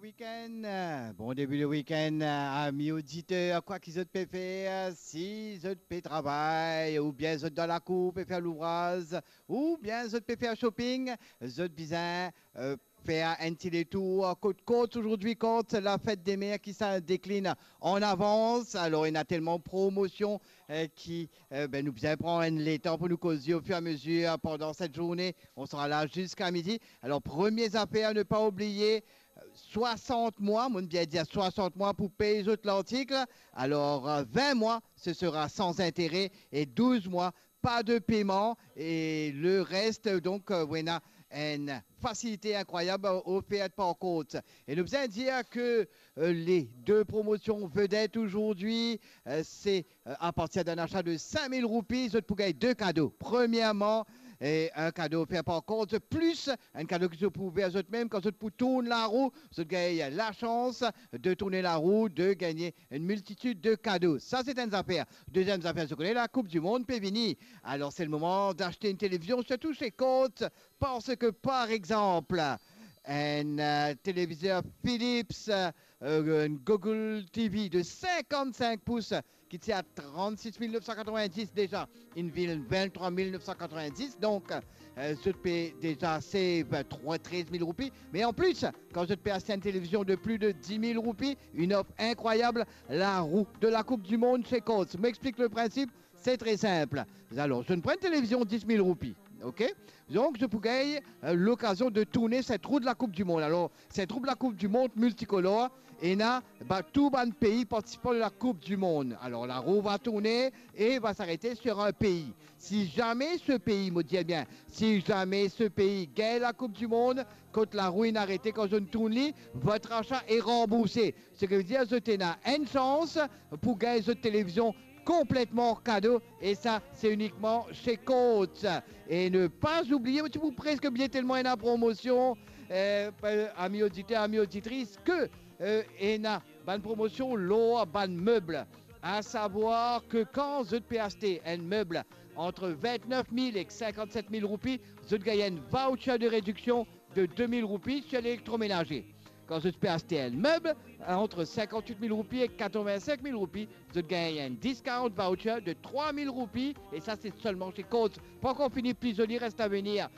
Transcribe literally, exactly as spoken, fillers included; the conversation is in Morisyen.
Week-end, bon début de week-end, ami oditer, kwa ki zot pe fer, si zot pe travay, oubien zot dan lakour pe fer louvraz, oubien zot pe fer shopping, zot bizin, euh, fer enn ti letour kot Courts. Ozordi Courts, la fête des mères ki sa deklinn an avans. Alor, ena telman promosion, euh, ki, euh, ben, nou bizin pran enn letan pou nou koze au fur et à mesure pendant cette journée. On sera là jusqu'à midi. Alors, première affaire, ne pas oublier, euh, soixante mois, mo bien dir soixante mois pou pey zot lartik. Alors, euh, vingt mois, ce sera sans intérêt et douze mois, pas de paiement. Et le reste, donc, euh, ou ena enn fasilite inkrwayab ofert par Courts. E nou bizin dir ke, euh, les deux promotions vedettes aujourd'hui, euh, c'est, euh, à partir d'un achat de cinq mille roupies, zot pou gagn de kado. Premièrement, euh, un cadeau offert par Courts, plus enn kado ki zot pou ouver zot mem. Kan zot pou tourn larou, zot gagn la chance de tourner la roue, de gagner une multitude de cadeaux. Ça, c'est une affaire. Deuxième affaire, zot kone, la Coupe du Monde pe vini. Alors, c'est le moment d'acheter une télévision, surtout chez Courts, parce que, par exemple, un, euh, téléviseur Philips, euh, une Google T V de cinquante-cinq pouces ki ti a trente-six mille neuf cent quatre-vingt-dix deza, inn vinn vingt-trois mille neuf cent quatre-vingt-dix. Donc, euh, zot pe deza save trois, treize mille roupies. Mais en plus, kan zot pe aste une télévision de plus de dix mille roupies, une offre incroyable, la roue de la Coupe du Monde chez Courts. Mo explik le principe, c'est très simple. Alors, zot pran enn télévizion dix mille roupies, ok? Donc, zot pou gagn, euh, l'occasion de tourner cette roue de la Coupe du Monde. Alors, cette roue de la Coupe du Monde multicolore, ena, ba, tou bann pei partisipan de la Coupe du Monde. Alors, la roue va tourner et va s'arrêter sur un pays. Si jamais ce pays, mo dir bien, si jamais ce pays gagne la Coupe du Monde, kot la roue inn arete, kan zot inn tourn li, votre achat est remboursé. Ce qui veut dire, zot ena enn sans pou gagn zot télévizion complètement cadeau, et ça, c'est uniquement chez Courts. Et ne pas oublier, mo ti pou preske bliye telman ena promosion, euh, ami oditer, ami oditris, ke, euh, ena bann promosion lor bann meb. À savoir que kan zot pe aste enn meb entre vingt-neuf mille et cinquante-sept mille roupies, zot gagn enn voucher de réduction de deux mille roupies sur l'électroménager. Kan zot pe aste enn meb entre cinquante-huit mille roupies et quatre-vingt-cinq mille roupies, zot gagn enn discount voucher de trois mille roupies, et ça, c'est seulement chez Courts. Pankor fini, pli zoli reste à venir.